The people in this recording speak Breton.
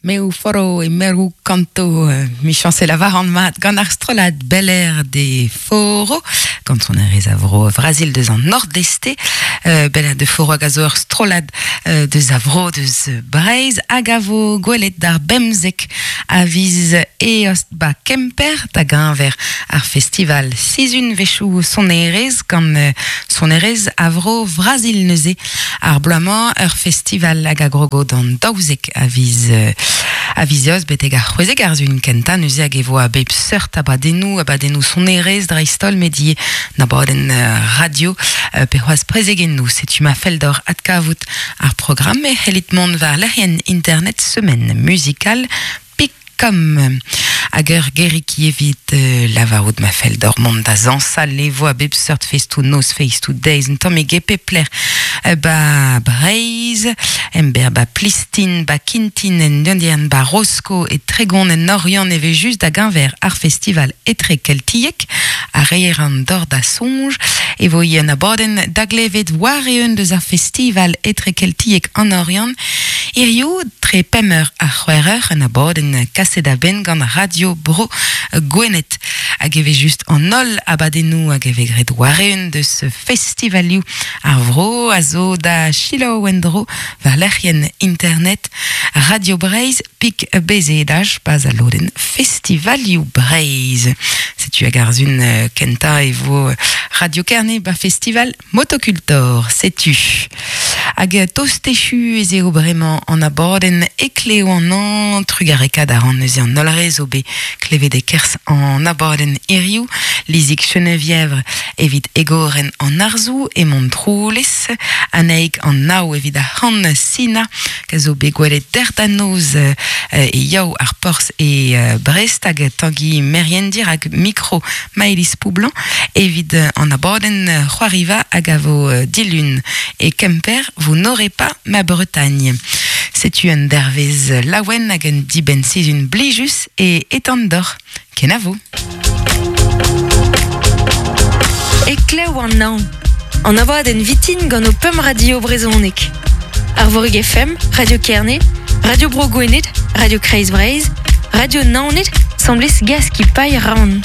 Meu foro e meru kanto, michañs e lavaran mat, gant ar strollad Bel Air de Foro, gant sonerezh a vro Vrazil deus an Nordeste. Bel Air de Foro hag a zo ur strollad deus a vro deus Breizh hag a vo gwelet d'ar bemzek a viz Eost ba Kemper da geñver ar festival sizhunvezhioù sonerezh gant sonerezh a vro Vrazil neuze. Ar bloaz-mañ ur festival hag a grogo d'an 12 a viz a viz Eost betek ar 16 ar sun kentañ neuze hag e vo a bep seurt abadennoù, abadennoù sonerezh dreist-holl met ivez un abadenn radio pe c'hoazh prezegennoù. Setu ma fell deoc'h adkavout ar programm e c'hellit mont war lec'hienn internet Semaine Musicale Picom. Hag ur gerig evit lavarout ma fell deoc'h mont da zañsal e vo a bep seurt festoù-noz, festoù-deiz, un tammig e pep lec'h ba Breizh, emberr ba Plistin, ba Kintin, en Dundiern, ba Rosko, e Tregon, en Oriant e vez just da geñver ar festival etrekeltiek a reer an dor da soñj e vo ivez un abadenn da glevet war-eeun deus ar festival etrekeltiek an Oriant hiziv tre pemp eur ha c'hwec'h eur, un abadenn kaset a-benn gant Radio Bro Gwened. Hag e vez just an holl abadennoù hag e vez graet war-eeun deus festivalioù ar vro a zo da selaou en-dro war lec'hienn internet Radio Breizh pik bezedaj pas al lodenn Festivalioù Breizh. Setu hag ar sun kentañ e vo Radio Kerne ba festival Motocultor, setu. Hag tost echu ez eo bremañ an abadenn Ekleo an hañv. Trugarekaat a ran neuze an holl re zo bet klevet e-kerzh an abadenn hiziv. Lizig Chenevièvre evit egorenn an arzoù e Montroulez, Anaig an Nao evit ar c'han Sina, a zo bet gwelet dec'h da noz e Yaou ar Porzh e Brest hag Tangi Merien dirak mikro Maëlys Poublanc evit an abadenn c'hoariva hag a vo dilun e Kemper Vous n'aurez pas ma Bretagne. Setu un dervezh laouen hag un dibenn-sizhun blijus e Etandor. Kenavo! Eklev an hañv. An abadenn vitin gant ho pemp radio brezhonek. Arvorig FM, Radio Kerne, Radio Bro Gwened, Radio Kreiz Breizh, Radio Naoned, 'semblez Gaskipailh Rann.